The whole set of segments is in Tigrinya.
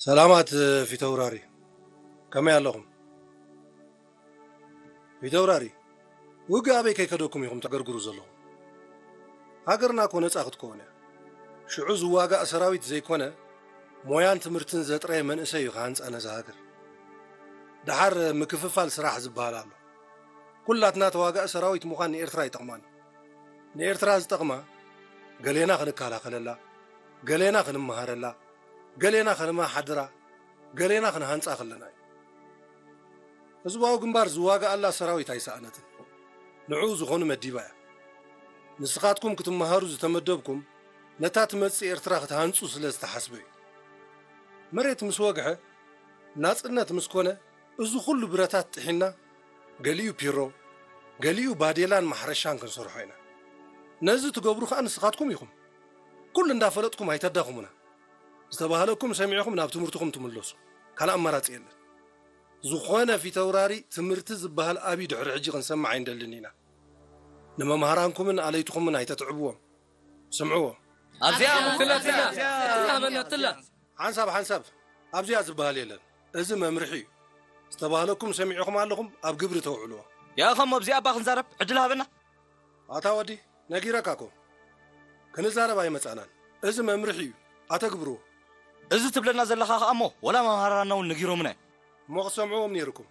ሰላማት ፊተውራሪ፣ ከመይ ኣለኹም? ፊተውራሪ፣ ውግእ ኣበይ ከይከደኩም ኢኹም ተገርግሩ ዘለኹም? ሃገርና እኮ ነጻ ክትከውን እያ። ሽዑ ዝዋጋእ ሰራዊት ዘይኮነ፣ ሞያን ትምህርትን ዘጥረየ መንእሰይ እዩ ክሃንጻ ነዛ ሃገር። ደሓር ምክፍፋል ስራሕ ዝበሃል ኣሎ። ኩላትና ተዋጋኢ ሰራዊት ምዃን ንኤርትራ ይጠቕማን። ንኤርትራ ዝጠቕማ፣ ገሌና ክንከላኸለላ፣ ገሌና ክንመሃረላ፣ ገሌና ከነመሓድራ፣ ገሌና ክንሃንጻ ከለና እዩ። ህዝባዊ ግንባር ዝዋግኣላ ሰራዊት ኣይሰኣነትን። ንዕኡ ዝኾኑ መዲባ እያ። ንስኻትኩም ክትመሃሩ ዝተመደብኩም፣ ነታ ትመጽእ ኤርትራ ክትሃንጹ ስለ ዝተሓስበ እዩ። መሬት ምስ ወግሐ፣ ናጽነት ምስ ኮነ፣ እዚ ኩሉ ብረታት ጥሒና፣ ገሊኡ ፒሮ፣ ገሊኡ ባዴላን ማሕረሻን ክንሰርሖ ኢና። ነዚ ትገብሩ ከኣ ንስኻትኩም ኢኹም። ኩሉ እንዳፈለጥኩም ኣይተዳኽሙና። ዝተባህለኩም ሰሚዕኹም ናብ ትምህርትኹም ትምለሱ። ካልእ ኣማራጺ የለን። ዝኾነ ፊተውራሪ ትምህርቲ ዝበሃል ኣብይ ድሕሪ ሕጂ ክንሰምዕ ኣይንደልን ኢና። ንመምሃራንኩምን ኣለይትኹምን ኣይተትዕብዎም። ስምዕዎ። ኣብዚኣ ትላ፣ ትላ፣ ትላ፣ ትላ፣ በና፣ ትላ። ሓንሳብ፣ ሓንሳብ። ኣብዚኣ ዝበሃል የለን። እዚ መምርሒ እዩ። ዝተባህለኩም ሰሚዕኹም ኣለኹም፣ ኣብ ግብሪ ተውዕልዎ። ያኸም ኣብዚኣ እባ ክንዛረብ ዕድል ሃበና። ኣታ ወዲ፣ ነጊረካ እኮ። ክንዛረብ ኣይመጻናን። እዚ መምርሒ እዩ። ኣተግብርዎ። እዚ ትብለና ዘለኻ ከኣ እሞ፣ ወላ መምሃራንና እውን ነጊሮምና እዮም። እሞ ክትሰምዕዎም ነይርኩም።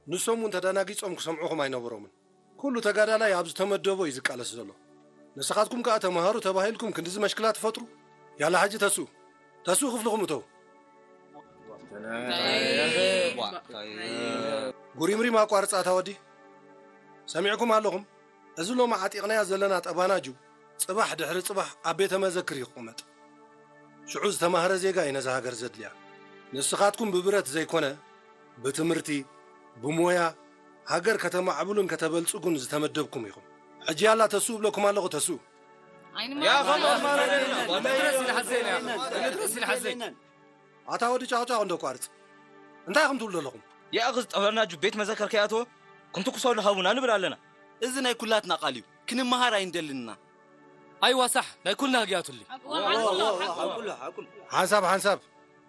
ንሶም እውን ተደናጊጾም ክሰምዑኹም ኣይነበሮምን። ኩሉ ተጋዳላይ ኣብ ዝተመደቦ እዩ ዝቃለስ ዘሎ። ንስኻትኩም ከኣ ተምሃሩ ተባሂልኩም ክንድዚ መሽክላ ትፈጥሩ? ያላ ሕጂ ተስኡ። ተስኡ ክፍልኹም እተው። ጉሪምሪም ኣቋርጻ ኣታ ወዲ። ሰሚዕኩም ኣለኹም? እዚ ሎሚ ዓጢቕናያ ዘለና ጠባናጁ ጽባሕ ድሕሪ ጽባሕ ኣብ ቤተ መዘክር እዩ ክቕመጥ። ሽዑ ዝተማህረ ዜጋ እዩ ነዛ ሃገር ዘድልያ። ንስኻትኩም ብብረት ዘይኮነ፣ ብትምህርቲ፣ ብሞያ፣ ሃገር ከተማዕብሉን ከተበልጽጉን ዝተመደብኩም ኢኹም። ሕጂ ያላ ተስኡ እብለኩም ኣለኹ፣ ተስኡ። ኣይንማ-፣ ያኸም ኣማራጺ የለን። ክንድረስ ኢልሓዘይና፣ ክንድረስ ኢልሓዘይ። ኣታ ወዲ ጫቕጫቕ እንዶ ቋርጽ። እንታይ ኢኹም ትብሉ ዘለኹም? ያእኽዝ ጠበናጁ ቤት መዘከር ከይኣተወ ክንትኩሰሉ ሃቡና ንብል ኣለና። እዚ ናይ ኩላትና ቃል እዩ። ክንመሃር ኣይንደልንና። ኣይዋ ሳሕ፣ ናይ ኩልና ህግያቱሊ። ሓንሳብ፣ ሓንሳብ።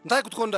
እንታይ ክትኮኑ